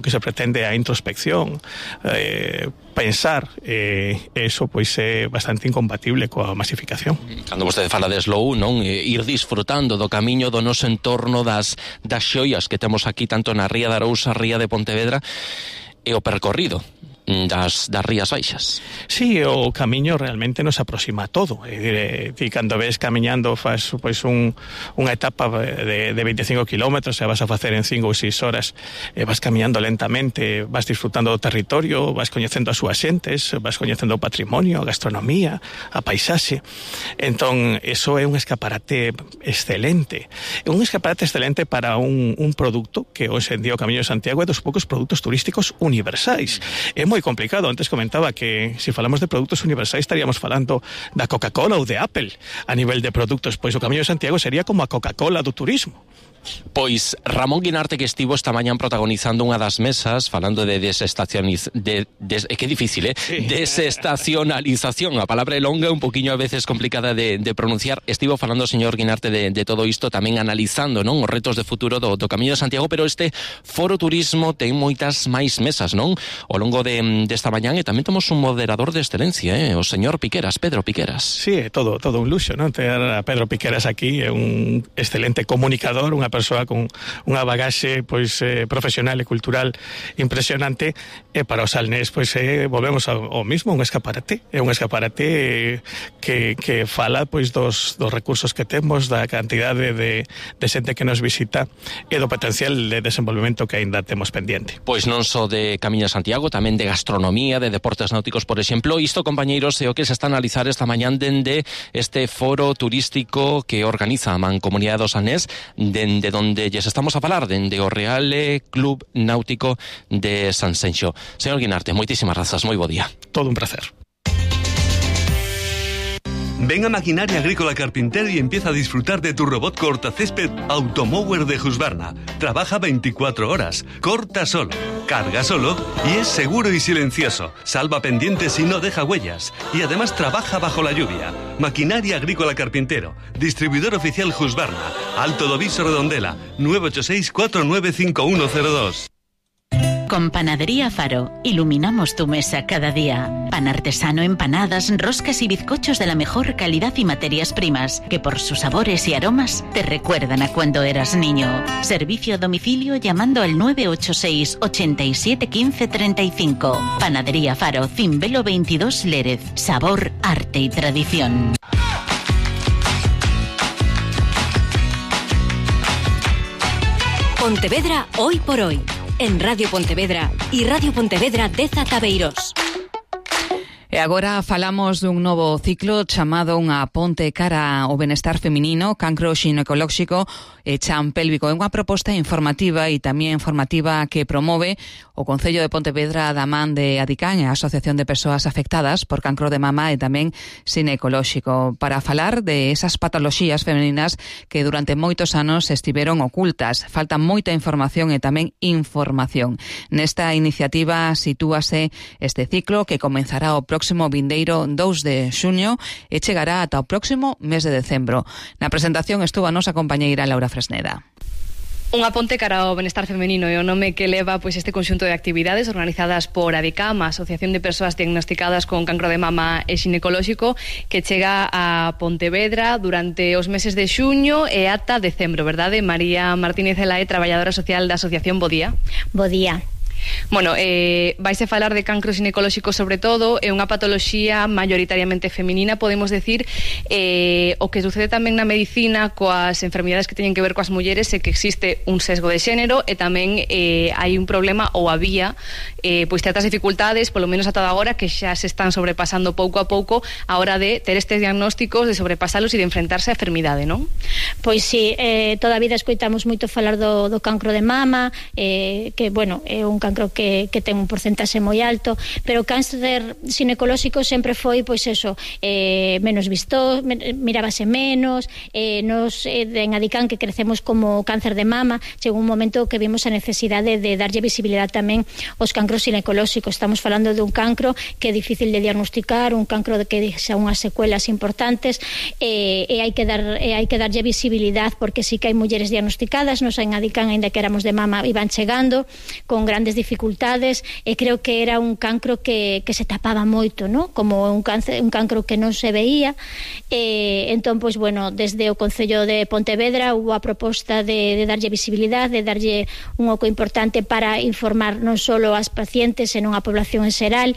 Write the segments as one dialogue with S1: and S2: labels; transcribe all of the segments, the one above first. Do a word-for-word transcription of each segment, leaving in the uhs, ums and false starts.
S1: que se pretende a introspección, eh, pensar, eh, eso pois é bastante incompatible coa masificación.
S2: Cando vostede fala de slow, non, eh, ir disfrutando do camiño do noso entorno, das, das xoias que temos aquí tanto na Ría de Arousa, Ría de Pontevedra, e o percorrido das, das Rías Baixas.
S1: Sí, o camiño realmente nos aproxima a todo. E, e cando ves camiñando faz pois un, unha etapa de, de veinticinco kilómetros e vas a facer en cinco ou seis horas, e vas camiñando lentamente, vas disfrutando do territorio, vas coñecendo as súas xentes, vas coñecendo o patrimonio, a gastronomía, a paisaxe. Entón, eso é un escaparate excelente. Un escaparate excelente para un, un produto que hoxe en día o Camiño de Santiago é dos poucos produtos turísticos universais. É moi complicado. Antes comentaba que se falamos de produtos universais estaríamos falando da Coca-Cola ou de Apple a nivel de produtos, pois o Camiño de Santiago sería como a Coca-Cola do turismo.
S2: Pois Ramón Guinarte, que estivo esta mañán protagonizando unha das mesas falando de desestacioniz... de, de, é que é difícil, eh? Sí. Desestacionalización, a palabra é longa, un poquinho a veces complicada de, de pronunciar. Estivo falando o señor Guinarte de, de todo isto, tamén analizando, non, os retos de futuro do, do Camiño de Santiago, pero este Foro Turismo ten moitas máis mesas, non? Ao longo de, desta mañán, e tamén temos un moderador de excelencia, eh? O señor Piqueras, Pedro Piqueras.
S1: Sí, é todo, todo un luxo, non? Ter a Pedro Piqueras aquí, é un excelente comunicador, unha persoa con unha bagaxe pois eh, profesional e cultural impresionante, e para os salnés pois eh, volvemos ao, ao mismo, un escaparate, é un escaparate eh, que, que fala pois dos, dos recursos que temos, da cantidade de, de xente que nos visita e do potencial de desenvolvemento que aínda temos pendiente.
S2: Pois non só de Camiño de Santiago, tamén de gastronomía, de deportes náuticos, por exemplo. Isto, compañeiros, é o que se está a analizar esta mañán dende este foro turístico que organiza a Mancomunidade do Salnés, dende donde lles estamos a falar, dende o Real Club Náutico de Sanxenxo. Señor Guinarte, moitísimas grazas, moi bo día.
S1: Todo un placer.
S3: Ven a Maquinaria Agrícola Carpintero y empieza a disfrutar de tu robot cortacésped Automower de Husqvarna. Trabaja veinticuatro horas, corta solo, carga solo y es seguro y silencioso. Salva pendientes y no deja huellas. Y además trabaja bajo la lluvia. Maquinaria Agrícola Carpintero, distribuidor oficial Husqvarna, Alto do Viso Redondela, nueve ocho seis, cuatro nueve cinco uno cero dos.
S4: Con Panadería Faro, iluminamos tu mesa cada día. Pan artesano, empanadas, roscas y bizcochos de la mejor calidad y materias primas, que por sus sabores y aromas te recuerdan a cuando eras niño. Servicio a domicilio llamando al nueve ocho seis, ochenta y siete, quince, treinta y cinco. Panadería Faro, Cimbelo veintidós Lérez. Sabor, arte y tradición.
S5: Pontevedra hoy por hoy. En Radio Pontevedra e Radio Pontevedra dez Atabeirós.
S6: E agora falamos dun novo ciclo chamado Unha ponte cara ao benestar feminino, cancro xinecolóxico e chan pélvico. É unha proposta informativa e tamén formativa que promove o Concello de Pontevedra da man de Adicán e a Asociación de Persoas Afectadas por Cancro de Mama e tamén xinecolóxico, para falar de esas patoloxías femininas que durante moitos anos estiveron ocultas. Falta moita información e tamén información. Nesta iniciativa sitúase este ciclo que comenzará o próximo vindeiro dous de xuño e chegará ata o próximo mes de decembro. Na presentación estuvo a nosa compañeira Laura Fresneda.
S7: Unha ponte cara ao benestar femenino é o nome que leva pois este conxunto de actividades organizadas por ADICAM, a Asociación de Persoas Diagnosticadas con Cancro de Mama e Xinecolóxico, que chega a Pontevedra durante os meses de xuño e ata decembro, verdade? María Martínez Elae, traballadora social da Asociación, bo día.
S8: Bo día.
S7: Bueno, eh, vais a falar de cancro xinecolóxico sobre todo, é unha patoloxía maioritariamente feminina, podemos decir, eh, o que sucede tamén na medicina coas enfermidades que teñen que ver coas mulleres é que existe un sesgo de xénero e tamén eh, hai un problema ou había eh, pois certas dificultades, polo menos ata agora, que xa se están sobrepasando pouco a pouco a hora de ter estes diagnósticos, de sobrepasalos e de enfrentarse á enfermidade, non?
S8: Pois sí, eh, toda a vida escoitamos moito falar do, do cancro de mama, eh, que, bueno, é un cancro que que, que ten un porcentaxe moi alto, pero o cáncer ginecolóxico sempre foi, pois eso, eh, menos visto, mirábase menos, eh, nos eh, en Adicán que crecemos como cáncer de mama, chegou un momento que vimos a necesidade de darlle visibilidade tamén aos cancros ginecolóxicos. Estamos falando dun cancro que é difícil de diagnosticar, un cancro de que xa unhas secuelas importantes, eh, e hai que dar e hai que darlle visibilidade, porque sí que hai mulleres diagnosticadas, nos en Adicán, aínda que éramos de mama, iban chegando con grandes dificultades, e creo que era un cancro que, que se tapaba moito, ¿no? Como un, cáncer, un cancro que non se veía. Eh, entón, pois, bueno, desde o Concello de Pontevedra hubo a proposta de, de darlle visibilidade, de darlle un oco importante para informar non só as pacientes, senón a población en xeral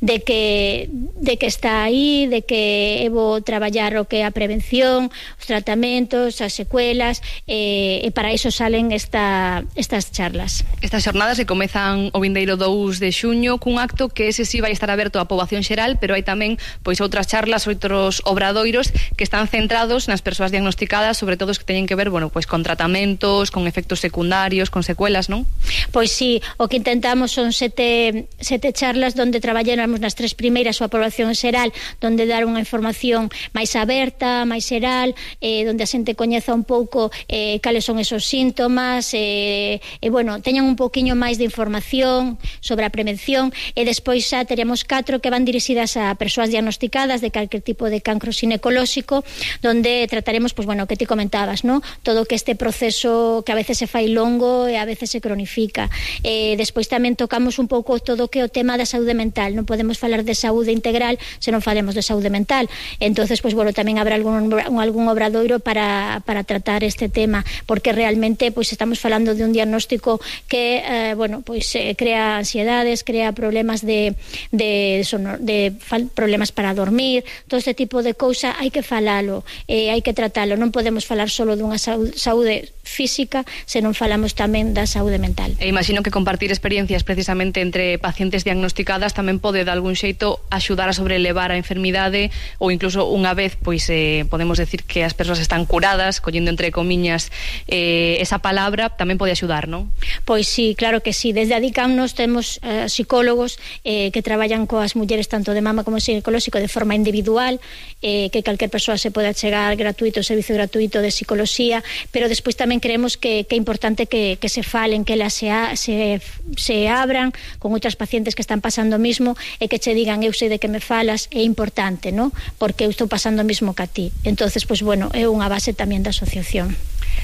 S8: de que, de que está aí, de que é bo traballar o que é a prevención, os tratamentos, as secuelas, eh, e para iso salen esta, estas charlas.
S7: Estas xornadas que comezan o vindeiro dous de xuño cun acto que ese sí vai estar aberto á poboación xeral, pero hai tamén pois outras charlas, outros obradoiros que están centrados nas persoas diagnosticadas, sobre todo os que teñen que ver, bueno, pois con tratamentos, con efectos secundarios, con secuelas, non?
S8: Pois sí, o que intentamos son sete, sete charlas onde traballamos nas tres primeiras a población xeral, onde dar unha información máis aberta, máis xeral, eh, onde a xente coñeza un pouco eh, cales son esos síntomas, e, eh, eh, bueno, teñan un pouquiño máis de información sobre a prevención, e despois xa teremos catro que van dirixidas a persoas diagnosticadas de calquer tipo de cancro ginecolóxico, onde trataremos, pois bueno, que ti comentabas, ¿no? Todo que este proceso que a veces se fai longo e a veces se cronifica. Eh, despois tamén tocamos un pouco todo que é o tema da saúde mental. Non podemos falar de saúde integral se non falemos de saúde mental. Entonces, pois bueno, tamén habrá algún, algún obradoiro para, para tratar este tema, porque realmente pois estamos falando de un diagnóstico que, eh, bueno, pois eh, crea ansiedades, crea problemas de, de, sonor, de fal, problemas para dormir, todo este tipo de cousa hai que falalo, eh, hai que tratalo. Non podemos falar solo dunha saúde, saúde física se non falamos tamén da saúde mental.
S7: E imagino que compartir experiencias precisamente entre pacientes diagnosticadas tamén pode de algún xeito axudar a sobrelevar a enfermidade, ou incluso unha vez pois eh, podemos decir que as persoas están curadas, collendo entre comiñas eh, esa palabra, tamén pode axudar, non?
S8: Pois sí, claro que sí. Desde Adicam nos temos eh, psicólogos eh, que traballan coas mulleres tanto de mama como ginecolóxico de forma individual, eh, que calquer persoa se pode chegar gratuito, servicio gratuito de psicología, pero despois tamén creemos que, que é importante que, que se falen, que elas se, a, se, se abran con outras pacientes que están pasando o mismo, e que che digan, eu sei de que me falas, é importante, ¿no? Porque eu estou pasando o mismo que a ti. Entonces, pois bueno, é unha base tamén da asociación.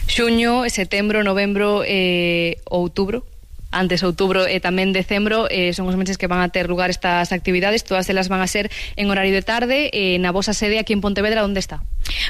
S7: Xuño, setembro, novembro e eh, outubro. Antes outubro e tamén decembro eh, son os meses que van a ter lugar estas actividades. Todas elas van a ser en horario de tarde, eh, na vosa sede aquí en Pontevedra. Onde está?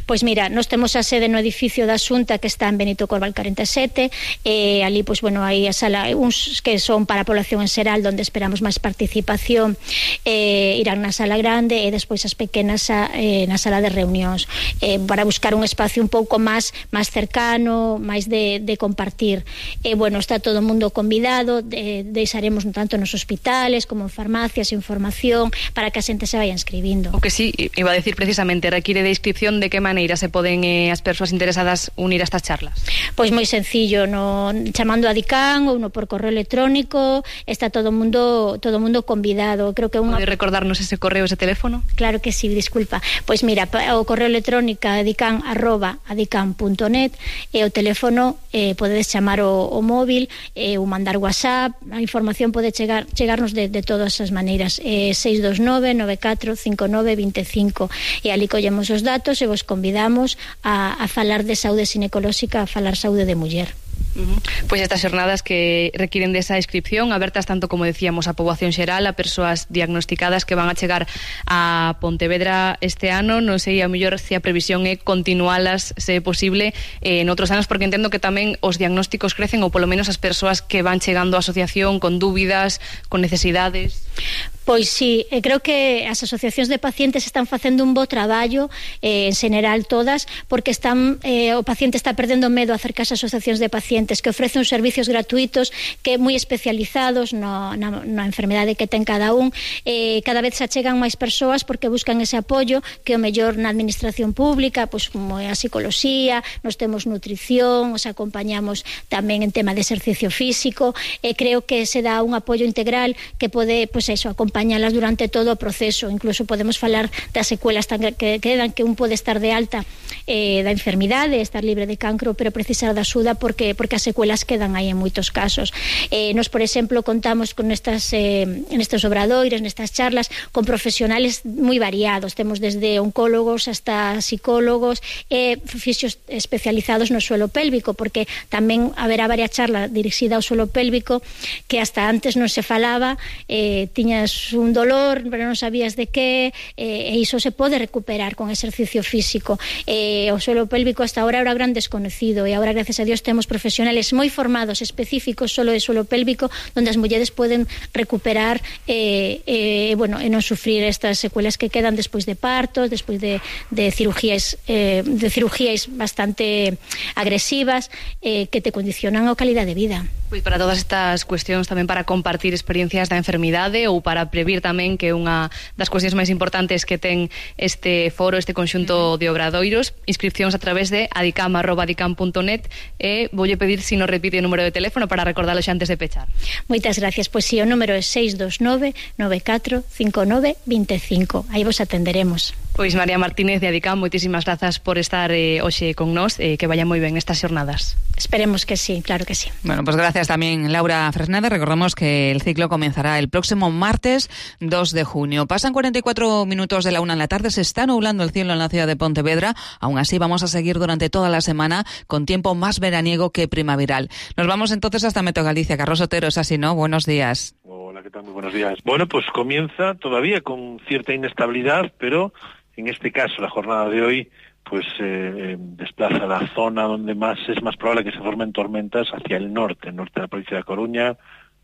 S8: Pois mira, nós temos a sede no edificio da Xunta, que está en Benito Corval corenta e sete, e ali, pois bueno, hai a sala, uns que son para a población en xeral, onde esperamos máis participación, eh, irán na sala grande, e despois as pequenas a, eh, na sala de reunións, eh, para buscar un espacio un pouco máis máis cercano, máis de, de compartir. E bueno, está todo o mundo convidado, de, deixaremos tanto nos hospitales como en farmacias información para que a xente se vaya inscribindo.
S7: O que sí, iba a decir precisamente, require de inscripción. De que maneira se poden eh, as persoas interesadas unir a estas charlas?
S8: Pois moi sencillo, no, chamando a Adicam ou no por correo electrónico, está todo o mundo todo o mundo convidado. Creo que unha...
S7: Pode recordarnos ese correo, ese teléfono?
S8: Claro que sí, disculpa. Pois mira, o correo electrónico adicam arroba adicam punto net, e o teléfono eh, podedes chamar o, o móvil eh, ou mandar WhatsApp. A información pode chegar chegarnos de, de todas as maneiras. Eh, seis dos nove, nove catro, cinco nove, vinte e cinco, e ali collemos os datos e vos convidamos a, a falar de saúde ginecolóxica, a falar saúde de muller.
S7: Uh-huh. Pois estas xornadas que requiren desa inscripción, abertas tanto, como decíamos, a poboación xeral, a persoas diagnosticadas que van a chegar a Pontevedra este ano. Non sei, a mellor se a previsión é continualas, se é posible, eh, en outros anos, porque entendo que tamén os diagnósticos crecen, ou polo menos as persoas que van chegando á asociación con dúbidas, con necesidades.
S8: Pois sí, eh, creo que as asociacións de pacientes están facendo un bo traballo, eh, en general todas, porque están eh, o paciente está perdendo medo a acercarse ás asociacións de pacientes que ofrecen servicios gratuitos que moi especializados no, na, na enfermedade que ten cada un. Eh, cada vez se achegan máis persoas porque buscan ese apoio que o mellor na administración pública, pois como é a psicoloxía, nos temos nutrición, os acompañamos tamén en tema de exercicio físico, e eh, creo que se dá un apoio integral que pode, pois eso, acompañalas durante todo o proceso. Incluso podemos falar das secuelas que quedan, que un pode estar de alta eh, da enfermidade, estar libre de cancro, pero precisar da axuda porque porque as secuelas quedan aí en moitos casos. Eh, nos, por exemplo, contamos con estas eh, nestes obradoires, nestas charlas, con profesionales moi variados. Temos desde oncólogos hasta psicólogos e eh, fisios especializados no suelo pélvico, porque tamén haberá varias charlas dirixida ao suelo pélvico que hasta antes non se falaba, eh, tiñas un dolor, pero non sabías de que, eh, e iso se pode recuperar con exercicio físico. Eh, o suelo pélvico hasta ahora era gran desconocido, e agora, gracias a Dios, temos profesionales moi formados, específicos solo de suelo pélvico, onde as mulleres poden recuperar eh, eh, bueno, e non sufrir estas secuelas que quedan despois de partos, despois de, de cirugías eh, de cirugías bastante agresivas, eh, que te condicionan a calidad de vida.
S7: Pois para todas estas cuestións, tamén para compartir experiencias da enfermidade ou para previr tamén, que unha das cuestións máis importantes que ten este foro, este conxunto de obradoiros, inscripcións a través de adicam arroba adicam punto net, e voulle pedir se si nos repite o número de teléfono para recordarlo xa antes de pechar.
S8: Moitas gracias. Pois si, o número é seis dos nove, nove catro, cinco nove, dos cinco. Aí vos atenderemos.
S7: Pois María Martínez de Adicam, moitísimas grazas por estar eh, hoxe con nós, eh, que vaya moi ben estas xornadas.
S8: Esperemos que sí, claro que sí.
S6: Bueno, pues gracias también, Laura Fresneda. Recordemos que el ciclo comenzará el próximo martes dos de junio. Pasan cuarenta y cuatro minutos de la una en la tarde, se está nublando el cielo en la ciudad de Pontevedra. Aún así vamos a seguir durante toda la semana con tiempo más veraniego que primaveral. Nos vamos entonces hasta Meteo Galicia. Carlos Otero, es así, ¿no? Buenos días.
S9: Hola, ¿qué tal? Muy buenos días. Bueno, pues comienza todavía con cierta inestabilidad, pero en este caso la jornada de hoy pues eh, desplaza la zona donde más es más probable que se formen tormentas hacia el norte, norte de la provincia de Coruña,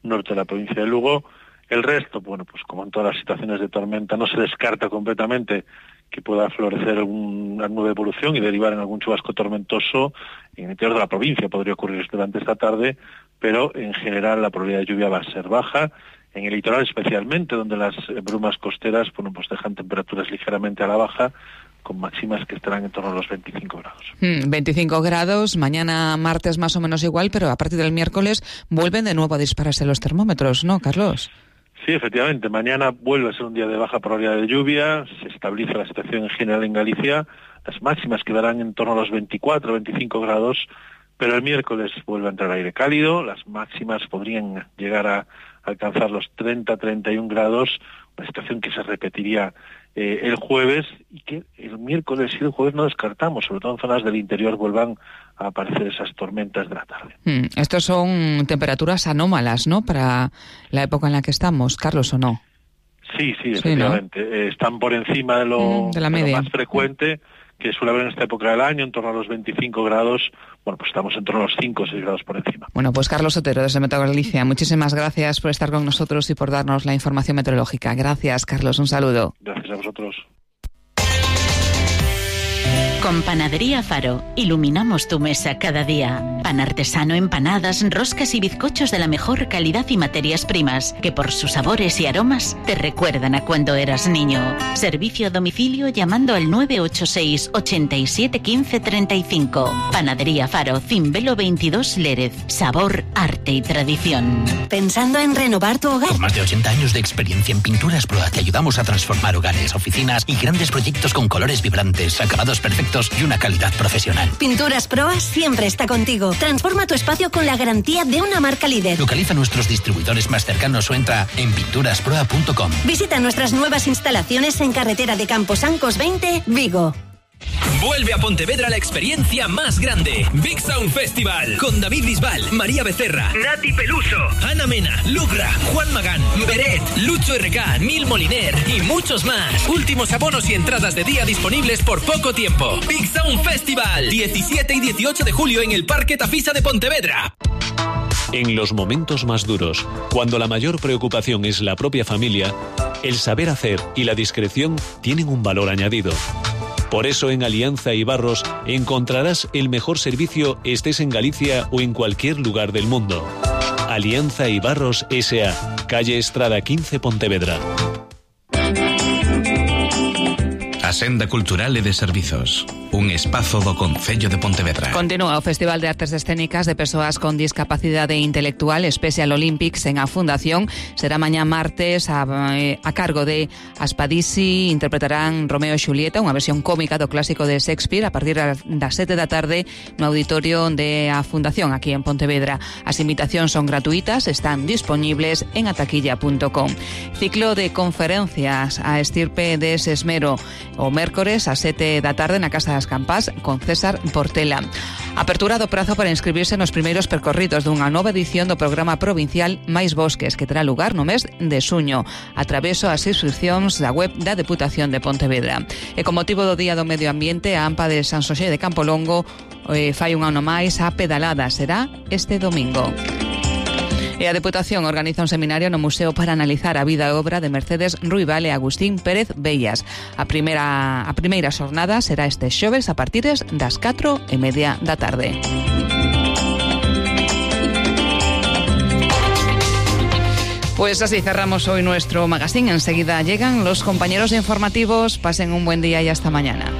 S9: norte de la provincia de Lugo. El resto, bueno, pues como en todas las situaciones de tormenta, no se descarta completamente que pueda florecer alguna nube de evolución y derivar en algún chubasco tormentoso en el interior de la provincia. Podría ocurrir durante esta tarde, pero en general la probabilidad de lluvia va a ser baja. En el litoral especialmente, donde las brumas costeras, bueno, pues dejan temperaturas ligeramente a la baja, con máximas que estarán en torno a los veinticinco grados.
S6: Mm, veinticinco grados, mañana martes más o menos igual, pero a partir del miércoles vuelven de nuevo a dispararse los termómetros, ¿no, Carlos?
S9: Sí, efectivamente, mañana vuelve a ser un día de baja probabilidad de lluvia, se estabiliza la situación en general en Galicia, las máximas quedarán en torno a los veinticuatro, veinticinco grados, pero el miércoles vuelve a entrar aire cálido, las máximas podrían llegar a alcanzar los treinta, treinta y un grados, una situación que se repetiría eh, el jueves, y que el miércoles y el jueves no descartamos, sobre todo en zonas del interior vuelvan a aparecer esas tormentas de la tarde.
S6: Mm, estos son temperaturas anómalas, ¿no?, para la época en la que estamos, Carlos, ¿o no?
S9: Sí, sí, efectivamente. Sí, ¿no? eh, están por encima de lo,
S6: mm, de la media.
S9: De lo más frecuente que suele haber en esta época del año, en torno a los veinticinco grados. Bueno, pues estamos en torno a los cinco o seis grados por encima.
S6: Bueno, pues Carlos Otero, desde Meteo Galicia, muchísimas gracias por estar con nosotros y por darnos la información meteorológica. Gracias, Carlos, un saludo.
S9: Gracias a vosotros.
S4: Con Panadería Faro, iluminamos tu mesa cada día. Pan artesano, empanadas, roscas y bizcochos de la mejor calidad y materias primas, que por sus sabores y aromas te recuerdan a cuando eras niño. Servicio a domicilio llamando al nueve ocho seis, ochenta y siete, quince, treinta y cinco. Panadería Faro, Cimbelo veintidós, Lérez. Sabor, arte y tradición.
S10: ¿Pensando en renovar tu hogar?
S11: Con más de ochenta años de experiencia en Pinturas Proa, te ayudamos a transformar hogares, oficinas y grandes proyectos con colores vibrantes, acabados perfectos y una calidad profesional.
S10: Pinturas Proa siempre está contigo. Transforma tu espacio con la garantía de una marca líder.
S11: Localiza nuestros distribuidores más cercanos o entra en pinturas proa punto com.
S10: Visita nuestras nuevas instalaciones en carretera de Camposancos veinte, Vigo.
S12: Vuelve a Pontevedra la experiencia más grande. Big Sound Festival. Con David Bisbal, María Becerra, Nati Peluso, Ana Mena, Lugra, Juan Magán, Beret, Lucho R K, Nil Moliner y muchos más. Últimos abonos y entradas de día disponibles por poco tiempo. Big Sound Festival. diecisiete y dieciocho de julio en el Parque Tafisa de Pontevedra.
S13: En los momentos más duros, cuando la mayor preocupación es la propia familia, El saber hacer y la discreción tienen un valor añadido. Por eso en Alianza y Barros encontrarás el mejor servicio estés en Galicia o en cualquier lugar del mundo. Alianza y Barros S A, calle Estrada quince, Pontevedra.
S14: A Senda Cultural e de Servizos, un espazo do Concello de Pontevedra.
S6: Continúa o Festival de Artes Escénicas de Persoas con Discapacidade Intelectual Special Olympics en a Fundación. Será mañá martes a, a cargo de Aspadisi. Interpretarán Romeo e Xulieta, unha versión cómica do clásico de Shakespeare, a partir das sete da tarde no auditorio de a Fundación aquí en Pontevedra. As invitacións son gratuitas, están disponibles en ataquilla punto com. Ciclo de conferencias a estirpe de Sesmero o mércores a sete da tarde na Casa das Campás con César Portela. Apertura do prazo para inscribirse nos primeiros percorridos dunha nova edición do programa provincial Mais Bosques, que terá lugar no mes de xuño, a través das inscripcións da web da Deputación de Pontevedra. E con motivo do Día do Medio Ambiente, a AMPA de San Xosé de Campolongo eh, fai un ano máis a pedalada. Será este domingo. E a Deputación organiza un seminario no Museo para analizar a vida e obra de Mercedes Ruibal e Agustín Pérez Bellas. A primeira, a primeira xornada será este xoves a partir das catro e media da tarde. Pues así cerramos hoy nuestro magazine. Enseguida llegan los compañeros informativos. Pasen un buen día y hasta mañana.